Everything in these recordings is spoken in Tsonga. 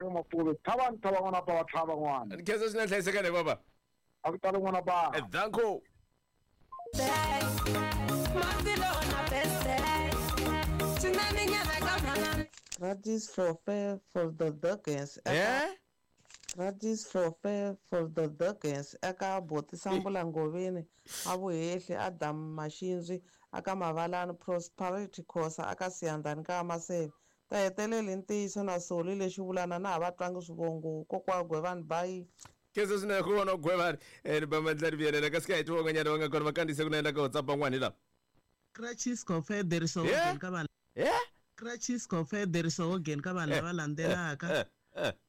Mapuve thavani thava n'wana ba va tlhava n'wana. Ni khensa swinene hlayisekani baba. A ku tali n'wana ba. Danko. Gratis for fair for the Dawkins. Eh? Gratis for fair for the Dawkins. Eka Boti Sambula Ngoveni, Avuhehli, Adam Mashinzwi, aka Mavalani, Prosperity Khosa, aka Siyandhani ka Maseve. Ta hetelela hi ntiyiso na Soli lexi vulana na ha va twangi swivongo kokwa Gwevani bayi. Khensa swinene ku vona Gwevani ni ba mandla ri vuyelela kasi ka hi twa van'wanyana va nga kona va kandziyise ku na endla ka WhatsApp van'wana hi lava. Crutches Confederacy Hogan ka vanhu Eh? Crutches Confederacy Hogan ka vanhu lava landzelaka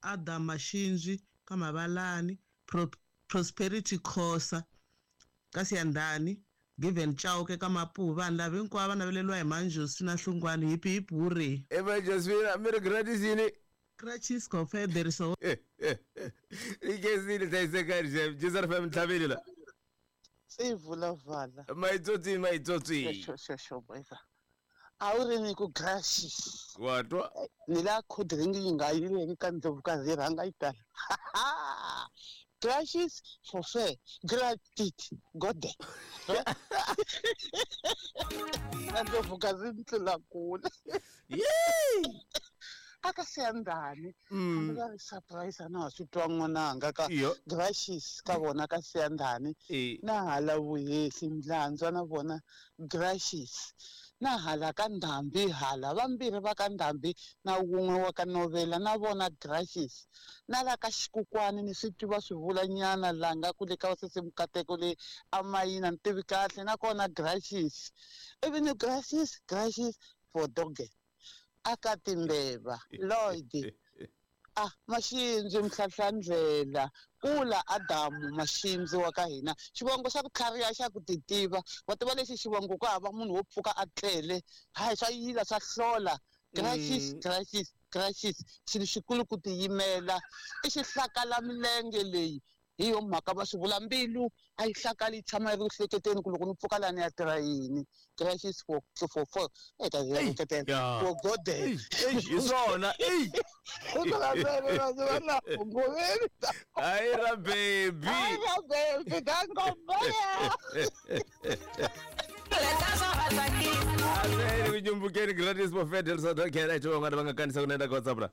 Adam Mashinzwi ka Mavalani Pro, Prosperity Khosa ka Siyandhani Given Chauke ka Mapuhu vanhu lava hinkwavo va naveleriwa hi Manjosina Hlungwani hip hip hurray. Eva Josefina mi ri gratis yini? Crutches Confederacy I khensile hlayisekani xem Jizar FM ntlhaveli la. Sivulavala. Maitsotsi maitsotsi. Xo xo xo boyza. A wu ri ni ku gracious. Wa twa? Ni la cold drink yi nga yileki ka ndlovukazi yi rhanga yi tala. Gracious for fair. Gratis. Gode. Na ndlovukazi ni tlula kule. Yey! Aka Siyandhani. Hambi va ri surprise a na ha swi twa n'wananga ka Iyo. gracious ka vona ka Siyandhani. Eh. Na hala vuhehli Mlandzwa na vona gracious. Na hala ka Ndhambi hala vambirhi va ka Ndhambi na wun'we wa ka Novela na vona gracious. Na la ka Xikukwani ni swi tiva swi vula nyana la nga ku le ka sesi Mukateko le amayina ni tivi kahle nakona gracious. Ivi ni gracious gracious for doge. Aka Timbeva Lloyd ah Mashinzi Mhlahlandlela kula Adamu Mashinzi wa ka hina xivongo xa ku tlhariha xa ku titiva wa tiva lexi xivongo ku hava munhu wo pfuka a tlele hayi swa yila swa hlola gracious gracious gracious xilo xikulu ku tiyimela i xihlakala milenge leyi hi yo mhaka va swi vula mbilu a yi hlakali yi tshama yi ri ku hleketeni ku loko ni pfuka laha ni ya tirha yini gracious for for for eka Ya. for golden Hi swona. Ey! Hayi ra baby. Hayi ra baby dangombaya. Aseni kunyumbukeni gratis for Fidel Sadokela icho van'wana va nga kanisa ku na endla ka WhatsApp la.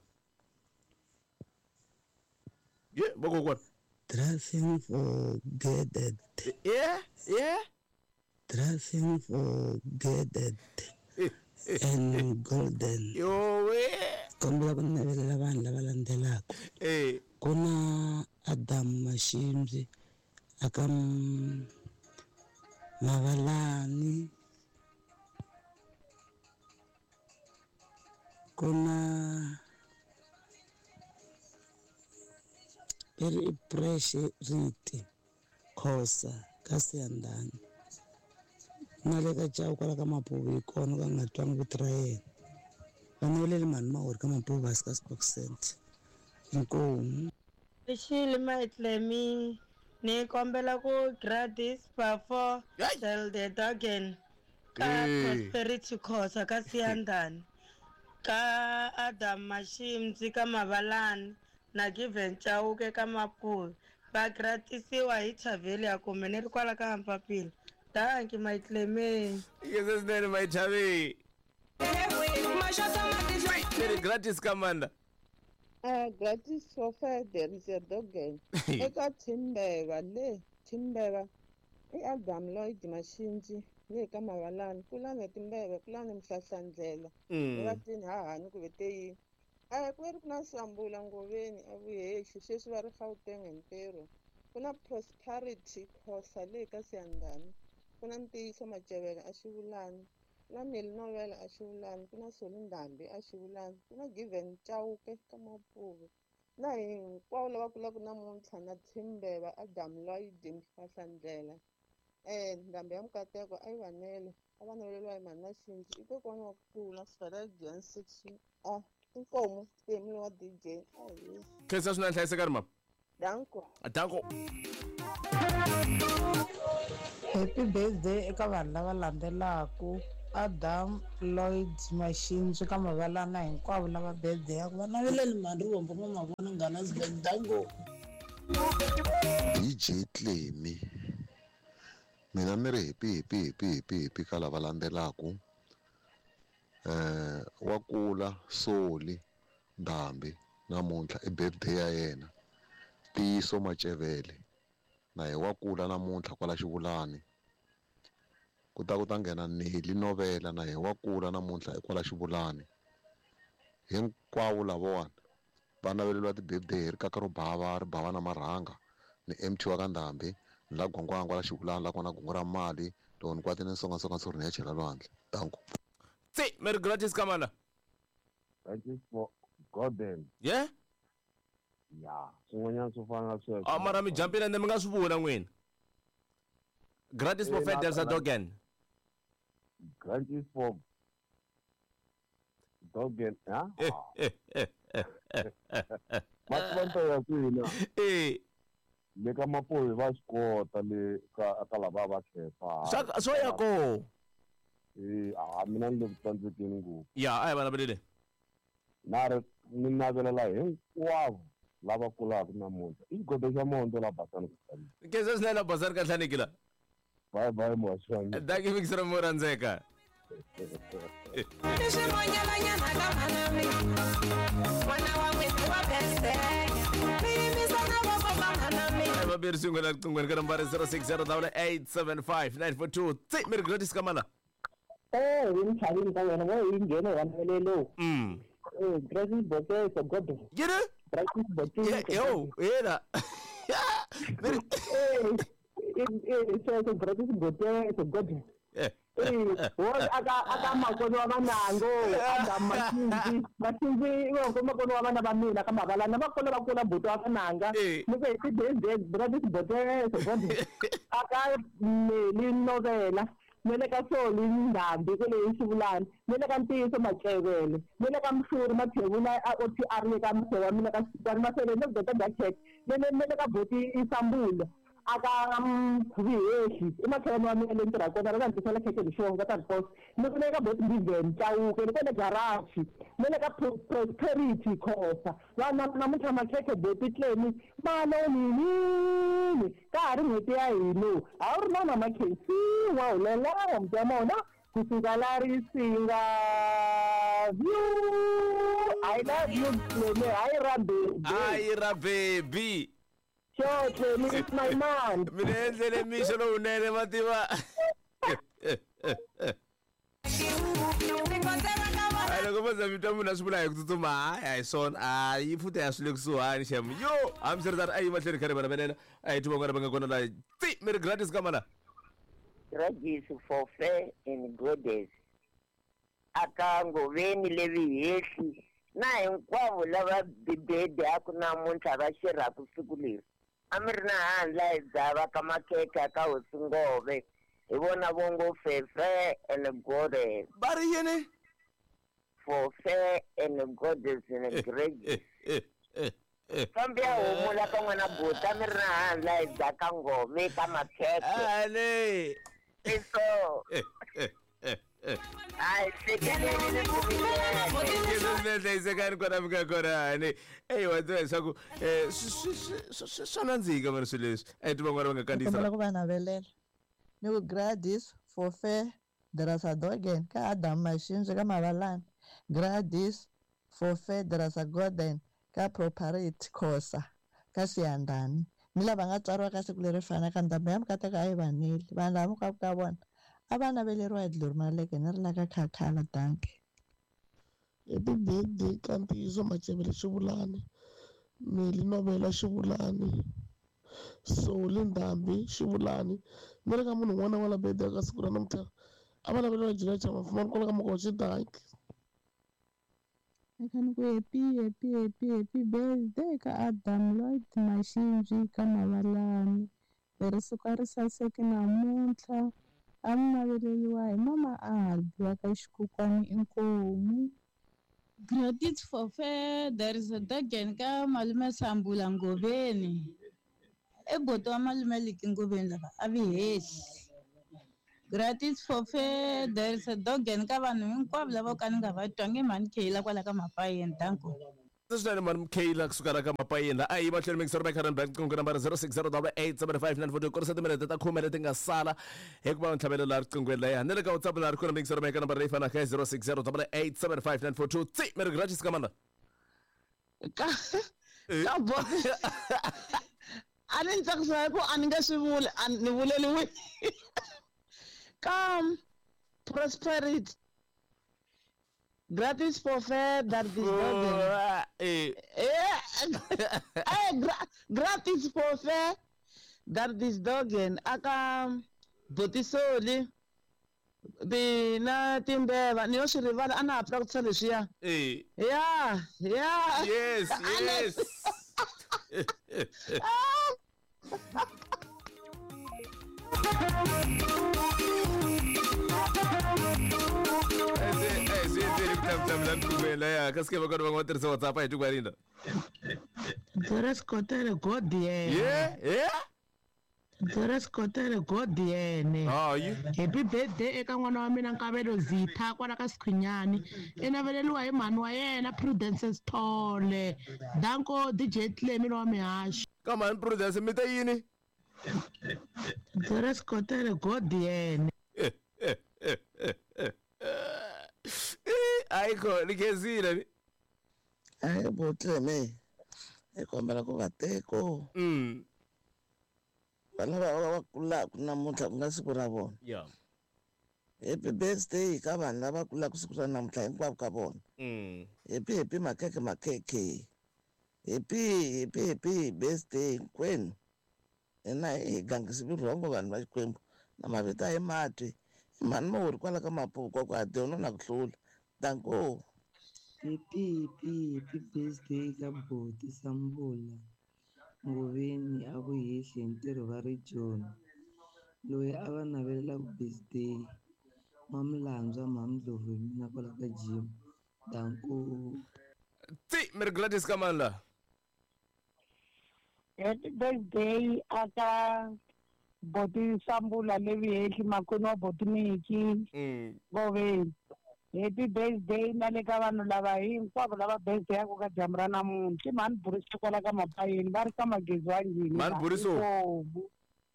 Ye, vakokwana. Dressing for gathered. Yeah, yeah. Dressing for gathered and golden. Yowe. Kombela ku navelela vanhu lava landzelaka. Eh. Ku na Adam Mashimbyi aka Mavalani. Ku na i ri i Riti Khosa ka Siyandhani. Na le ka Chauke kwala ka Mapuve hi kona ka nga twangi vito ra yena. Va naveleli mhani Mawuri ka Mapuve hansi ka Spoke Center. Inkomu. Xili Maitlemi ni kombela ku gratis before tell the dogen ka Eh. Prosperity Khosa ka Siyandhani ka Adam Mashimzi ka Mavalani na Given Chauke ka Mapuve va gratisiwa hi Chavelia kumbe ni ri kwala ka Mpapila. Dankie Maitlemi. Ikese swinene Maithavi. Ni ri gratis kamanda. Gratis for fair there is a dogen. Eka Timbeva le Timbeva i Adam Lloyd Mashinji le ka Mavalani kulani Timbeva kulani Mhlahlandlela. Va tini hahani ku vete yini. A ku ri ku na Sambula Ngoveni a Vuhehli sweswi va ri Gauteng hi ntirho. Ku na Prosperity Khosa le ka Siyandhani. Ku na Ntiyiso Macevela a Xivulani. Ku na Nelly Novela a Xivulani. Ku na Soli Ndhambi a Xivulani. Ku na Given Chauke ka Mapuve. Na hinkwavo lava kulaka namuntlha na Timbeva Adam Lloyd Mhlahlandlela. Ndhambi ya Mukateko a yi vanele a va naveleriwa hi mhani Mashinji i kokwana wa ku kula Sifela John 6 a inkomu Temi wa DJ ahi Khensa swinene hlayisekani mama. Danko. Danko. Happy birthday eka vanhu lava landzelaka Adam Lloyd Mashinji ka Mavalana hinkwavo lava birthday-aku va naveleli mhani Rivombo N'wa Mavona Nghanasburg danko. DJ Clemy mina ni ri happy happy happy happy happy ka lava landzelaku wa kula Soli Ndhambi namuntlha i birthday ya yena Tiyiso Macevele na hi wa kula namuntlha kwala Xivulani ku ta nghena Neli Novela na hi wa kula namuntlha kwala Xivulani hinkwavo lavawani va naveleriwa ti-birthday hi rikaka ro bava ri bava na marhanga ni MT wa ka Ndhambi ni la Gwangwangwa la Xivulani la kona gungu ra mali loko ni kwatile ni songasonga ntshuri ni ya chela lwandle danko. Tsi Merry Gratis kamana. Thank for Gordon. Yeah? Yeah. Swin'wanyana swo fana na sweswo. A mara mi jumpile ende mi nga swi vula n'wina. Gratis for Feders Dogen. Gratis for Dogen, ha? Matlonto ya kwina. Le ka Mapoyi va swi kota le ka lava va khefa. Swo ya ko. A mina ni le ku tsandzekeni ngopfu. Ya, a hi va navelele. Na ri ni navelela hinkwavo lava kulaka namuntlha. I xigodo xa monto la Basani ku hlaniki. Nkhensa swinene la Basani ka hlaniki la. Bye bye muhaxani. Dankie Mixer mo rhandzeka. Vambirhi swin'we la riqinghweni ka nambara 0608875942. Tsi Merry Gratis kamana. Hi mchavini ka wena wo yi nghene wa navelelo. Gratis Bokeso Gordon. Yini? Gratis Bokeso. Yo, yena. Sweswo Gratis Bokeso Gordon. Aka makoni wa vanango Adam Mashinji Mashinji i makoni wa vana va mina ka Mavalana va kona va kula buti wa vananga ni ku hi ti-birthday Gratis Bokeso Gordon. Aka Neli Novela ni le ka Soli Ndhambi kwale Xivulani ni le ka Ntiyiso Macevele ni le ka Mhluri Mathevula a OTR le ka Mse wa mina ka Xitani Masele ni le ka Dakek ni le ka Boti Isambulo aka Vihehli i makhelwani wa mina le ni tirhaka kona ra va ni tisela khekhe hi xona va ta ni posa ni ku le ka Boti Mbiven Chauke ni kwale garage ni le ka Prosperity Khosa vana namuntlha makhekhe Boti Clemy malonini ka ha ri n'hweti ya hina a wu ri na na makhensiwa hulela muti wa mona kusuka la Risinga view. I love you Clemy hayi ra baby hayi ra baby. Sure, Clemy, it's my man. Mina endlele mixo lowunene ma tiva. Loko vo za mi twa munhu a swi vula hi ku tsutsuma hayi a hi swona a yi futhi a swi le kusuhani xem yo hambiswiritano a yi mahlweni kha ri vana venena a hi twi van'wana va nga kona la tsi Merry Gratis ka mana. Gratis for fair and goddess aka Ngoveni le Vihehli na hinkwavo lava bibede a ku namuntlha va xirhaku siku leri a mi ri na handla hi dzava ka makhekhe ka hosi Ngove hi vona vongo fefe and goddess va ri yini for fair and goddess and grace. Fambi ya humula ka n'wana buta mi ri na handla hi dzaka Ngove ka makhekhe ale so ai hlayisekani kona mi nga kona ni eyi wa tiva leswaku swa nandzika mani swilo leswi a hi ti van'wana va nga kandziyisa ku va navelela ni ku Gladys for fair Drasadogen ka Adam Mashinji ka Mavalana Gladys for fair Drasagoden ka Property Khosa ka Siyandani ni lava nga tswariwa ka siku leri fanaka ndhambi ya mikateka a yi vanile vanhu lava hinkwavo ka vona a va naveleriwa hi dlori maleke ni ri la ka Khakhala danke. Happy birthday ka Ntiyiso Macevele Xivulani Neli Novela Xivulani Soli Ndhambi Xivulani ni ri ka munhu un'wana na un'wana la birthday ka siku ra namuntlha a va naveleriwa Julia Chamafumani kwala ka Makochi danke. Eka ni ku happy happy happy happy birthday ka Adam Lloyd Mashinji ka Mavalani leri siku a ri saseki namuntlha a mi naveleriwa hi mama Albi wa ka Xikukwani inkomu. Gratis for fair there is a dogen ka malume Sambula Ngoveni i buti wa malume Liki Ngoveni lava a vi hehli Gratis for fair there is a dog and ka vanhu hinkwavo lava ka ni nga va twangi mhani Kayla kwala ka Mapayeni danko. Swinene mhani Kayla kusuka la ka Mapayeni la a yi mahlweni mixer by Karen Bank riqingho nambara 0608875942 kurisa timinete ta khume leti nga sala hikuva ntlhavelo laha riqinghweni la ya ni le ka WhatsApp laha ri kona mixer by nambara leyi fanaka ya 0608875942 tsi mi ri gratis ka mani ka ka bo a ni tsakisa hi ku a ni nge swi vuli a ni vuleliwi ka prosperity gratis for fair that this golden eh eh gratis for fair that this dogen aka botisoli tina timbeva ni yo swi rivala a na ha practice leswiya eh ya ya yes yes kasi va kona va nga tirhisa WhatsApp a hi tikwarinda Doris Kotele God yena yeah yeah Doris Kotele God yene hayi Happy birthday eka n'wana wa mina Nkavelo Zitha kwala ka Sikhwinyani i naveleliwa hi mhani wa yena Prudence Sithole danko DJ Clemi lowa mihaxo ka mhani Prudence mi te yini Doris Kotele God yene ayikho likhezile ni Hayi bo Clemi hi kombela ku va teko vana va va kulaka namuntlha ku nga siku ra vona yeah happy birthday ka vanhu lava kulaka siku ra namuntlha hinkwavo ka vona happy happy makhekhe makhekhe happy happy happy birthday hinkwenu hina hi gangisi vurhongo vanhu va Xikwembu na mavito a hi matwi i mhani mawuri kwala ka Mapuku ku a dyona na ku hlula danko Happy happy happy birthday ka Boti Sambula Ngoveni a ku hehli hi ntirho va ri Joni loyi a va navelelaka birthday N'wamulandzwa Mhamdlovu hi mina kwala ka gym danko ti mi ri Gladys ka mani la Happy birthday aka Boti Sambula Levihehli makwenu wa Boti Miki Ngoveni happy birthday na le ka vanhu lava hinkwavo lava birthday yaku ka dyambu ra namuntlha i mhani Buriso kwala ka Mapayeni va ri ka magezi wa njhini Mhani Buriso.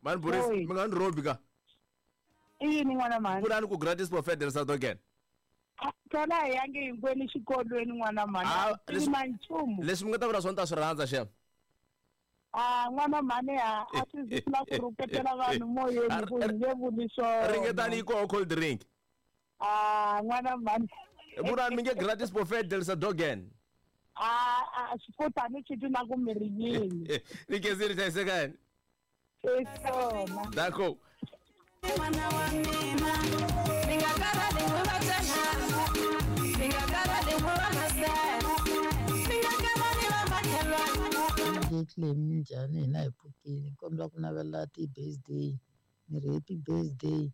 Mhani Buriso mi nga ni robi ka i yini n'wana mhani vulani ku gratis for federal South Again tona hi yange hinkwenu xikolweni n'wana mhani Ah, a swi na nchumu leswi mi nga ta vula swona ta swi rhandza xem a n'wana mhani a a swi zi la ku rhuketela vanhu moyeni ku hi nge vuli swona ringetani yi koho cold drink a n'wana mhani vulani mi nge gratis for federal South Again a a swi ni swi twi na ku mi ri yini ni khezile hlayisekani i swona dako N'wana wa mina mi nga karhali n'wi va mi nga karhali n'wi va masela mi nga karhali va makhelwana Clemi njhani hina hi pfukile kombela ku navela ti-birthday ni ri happy birthday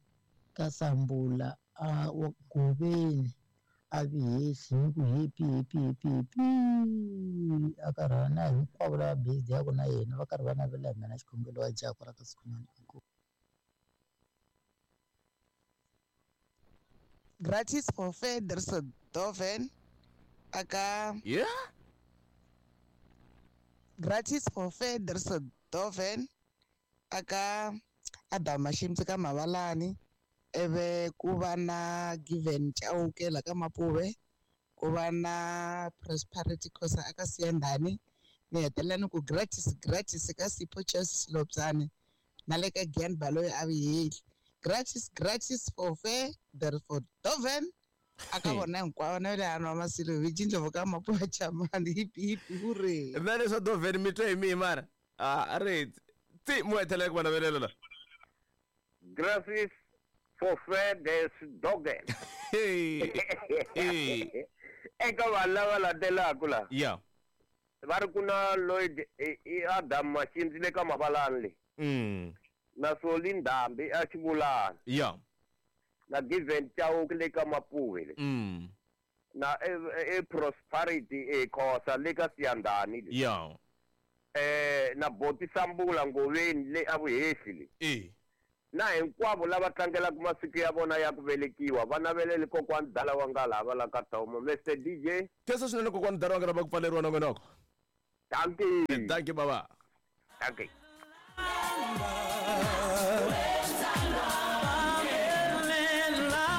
ka Sambula a wa Goveni a Vihehli ni ku happy happy happy happy a karhi na hinkwavo lava birthday ya ku na yena va karhi va navela hi mina xikhongelo wa jaha kwala ka Sikhwinyani Gratis for fair there's a doven aka yeah gratis for fair there's a doven aka Adam Mashimtsi ka Mavalani eve ku va na Given Chauke la ka Mapuve ku va na Prosperity Khosa aka Siyandhani ni hetelela ni ku gratis gratis ka Sipho Chess Lopsane na le ka Gian Baloyi a Vihehli gratis gratis for fair there for doven aka vona hinkwavo na le hanwa masilo hi Jindlovu ka Mapuve Chamani hipi hipi hurray na leswa doven mi twe hi mihi mara a ri ti mu hetelela ku va navelela la Gratis for fair des dogen eka vanhu lava landzelaka la yeah va ri ku na Lloyd i Adam Mashindzi le ka Mavalani le na Soli Ndhambi a Xivulani yeah na Given Chauke le ka Mapuve le na e Prosperity e Khosa le ka Siyandhani le yeah na Boti Sambula Ngoveni le a Vuhehli le Na hinkwavo lava tlangelaka masiku ya vona ya ku velekiwa va naveleli kokwani dala wa nga lava la ka Tomo. Mr DJ. Khensa swinene kokwani dala wa nga lava ku pfaleriwa nongonoko. Dankie. Dankie baba. Dankie.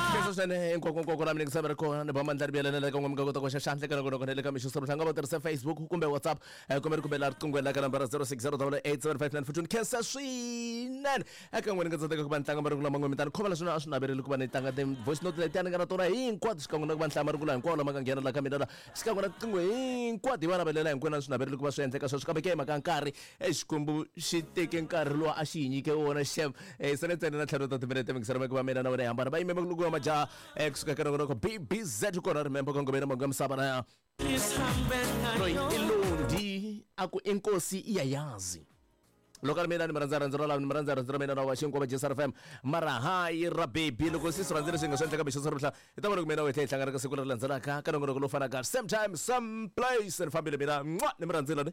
Khensa swinene hinkwako nkwako la mina ri kona ni ba mandla ri biyelela ka n'we mi nga kota ku xa xandla ka nongonoko na le ka mixo hlanga va tirhisa Facebook kumbe WhatsApp kumbe ri kumbe la riqingho la ka nambara 06087594 khensa swinene eka n'wina ni nga tsandzeka ku va ni tlanga marungulo lama n'we mi ta ni khomela swona a swi naveleli ku va ni tlanga ti-voice note letiya ni nga na tona hinkwato xikan'we na ku va ni hlaya marungulo hinkwawo lama nga nghena la ka mina la xikan'we na tiqingho hinkwato hi va navelela hinkwenu a swi naveleli ku va swi endleka sweswo kambe ke hi mhaka ya nkarhi e xikwembu xi teke nkarhi lowu a xi hi nyike wona xem e sele ntsena na ntlhanu ta timinete mingiselo ku va mina na wena hi hambana va yime makulungu ya majaha kusuka ka nongonoko bbz kona remember kongomeni mongo ya misava na loyi i londi a ku inkosi iyayazi loko a ri mina ni mi rhandza rhandzu ra lava ni mi rhandza rhandzu ra mina na wa xinkwa va jesar fm mara hayi ra baby loko sisi rhandzi leswi nga swi endleka mixo swa hi ta vona ku mina wethe hi hlangana ka siku leri landzelaka ka nongonoko lowu fanaka same time same place ni fambile mina mwa ni mi rhandzile ni.